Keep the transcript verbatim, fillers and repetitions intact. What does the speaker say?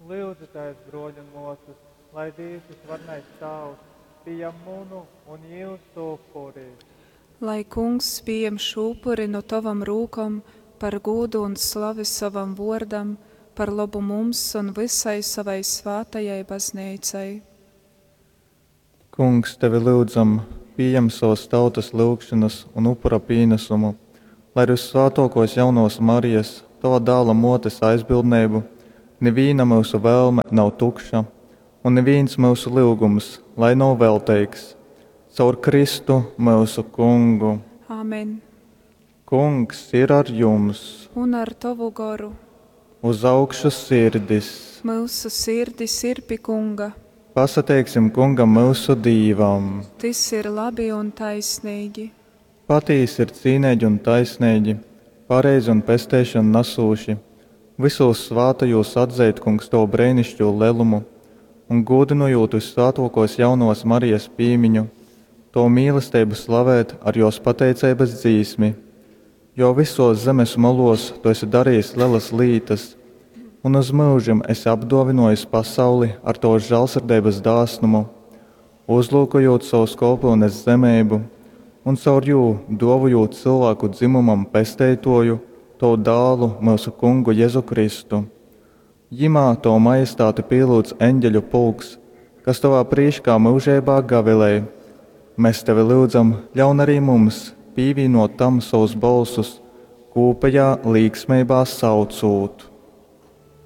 Lyudzitēs, bruoļi un muosys, lai Dīvs Vysvarenais Tāvs pījam munu un jiusu upuri. Lai Kungs pījam šū upuri nu tovom rūkom par gūdu un slavi sovam vuordam, par lobu mums un vysai sovai svātajai Bazneicai. Kungs, tevi lyudzam, pījam sovas tautas lyugšonas un upura pīnasumu, lai ar vyssvātōkōs jaunovas Marijas, tova Dāla mōtes aizbildneibu nivīna myusu vēlme nav tukša un nivīns myusu lyugums lai nav velteigs. Caur Kristu, myusu Kungu. Amen. Kungs ir ar jums! Un ar tovu goru. Uz augšu sirdis! Myusu sirdis ir pi Kunga. Pasateiksim Kungam myusu Dīvam! Tys ir labi un taisneigi. Patīsi ir cīneigi un taisneigi, pareizi un pesteišonu nasūši vysūs svātajūs atzeit, Kungs, tovu breiniškū lelumu un, gūdynojūt vyssvātōkōs jaunovas Marijas pīmiņu, tovu mīlesteibu slavēt ar jōs pateiceibas dzīsmi. Jo vysōs zemes molōs tu esi darejis lelas lītas un uz myužim esi apdōvynōjis pasauli ar tovas žālsirdeibas dāsnumu, uzlyukojūt sovas kolpyunes zemeibu un caur jū dōvojūt cylvāku dzymumam Pesteitōju, tovu Dālu, myusu Kungu Jezu Kristu. Jymā tovu majestāti pīlyudz eņgeļu pulks, kas tovā prīškā myužeibā gavilej. Mes tevi lyudzam, ļaun ari mums pīvīnōt tam sovus bolsus, kūpejā līksmeibā saucūt.